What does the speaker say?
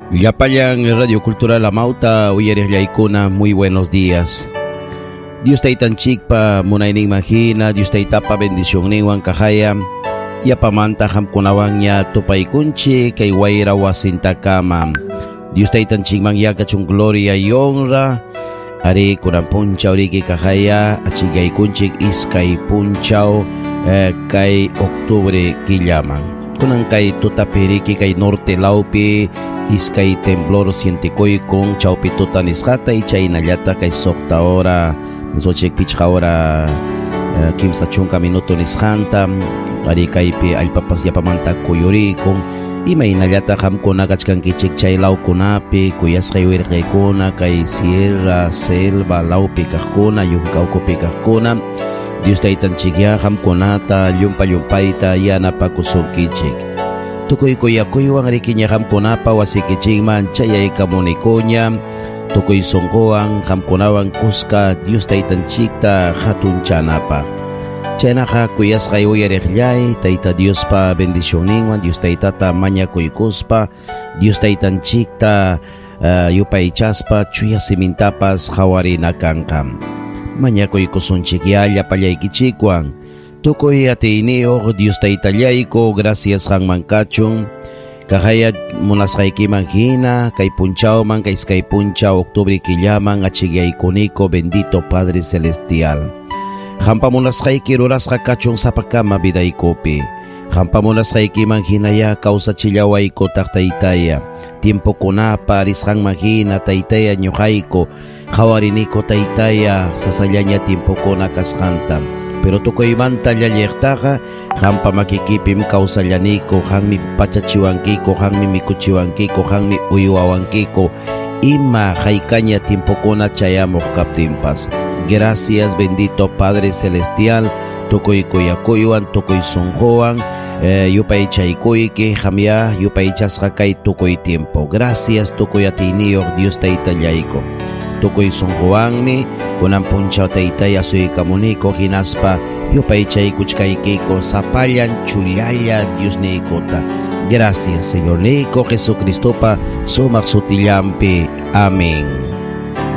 Llapallan Radio Cultural Amauta uyariqllaykuna, muy buenos días. Dios taytanchikpa munayninman hina, Dios taytapa bendicionninwan kahaya, yapamanta qamkunawanña tupaykunchik kay wayra wasintakama. Dios taytanchikman yakachun gloria y honra. Ari kunan punchaw riki kahaya achikaykunchik iskay punchaw kay octubre killaman. Kunan kay tutapi riki kay norte lawpi iskay temblor sientikuykun chawpi tuta nisqata y chaynallata kay suqta hora nisunchik pichqa hora 30 minuto nisqanta ari kaypi allpapas yapamanta kuyurikun. Imaynallata qamkuna kachkankichik chay lawkunapi kuyasqay wirqaykuna kay sierra, selva lawpi kaqkuna, yunka ukupi kaqkuna, Dios taytanchikya qamkunata llumpa llumpayta yanapakusunkichik. Tukuy kuyakuywan rikiña qamkunapa wasikichikman chayaykamunikuña, tukuy sunquwan qamkunawan kuska Dios taytanchikta hatunchanapaq. Chaynaqa kuyasqay uyariqllay, Tayta Diospa bendicionninwan, Dios taytata mañakuykuspa, Dios taytanchikta yupaychaspa chuya simintapas hawarina kanqa. Mañakuykusunchikya llapallaykichikwan. Tukuy atiyniyuq Dios taytallayku, gracias qanman kachun. Kahaya munasqaykiman hina, kay punchawman, kay iskay punchaw, octubre killaman, achikyaykuniko, bendito Padre Celestial. Qampa munasqayki rurasqa kachun sapakama vidaykupi. Qampa munasqaykiman hinaya kawsachillawayku taq taytaya. Tiempokunapa risqanman hina taytaya ñuqayku, qhawariniko taytaya sasallaña tiempokuna kasqanta. Pero tukuymanta llalliqtaqa qampa makikipim kawsallaniko, qanmi pachachiwankiku, qanmi mikuchiwankiku, qanmi uywawankiku, ima haykaña tiempokuna chayamuq kaptinpas. Gracias, bendito Padre Celestial, tukuy kuyakuywan, tukuy sunquwan, yupaychaykuyki, qamya yupaychasqa kay tukuy tiempo. Gracias, tukuy atiyniyuq Dios taytallayku. Tukuy sunquwanmi kunan punchaw taytay asuykamuniko hinaspa yupaychaykuchkaykiko sapallan chullalla Diosniykuta. Gracias, Señor Nico Jesucristopa sumaq sutillampi. Amén.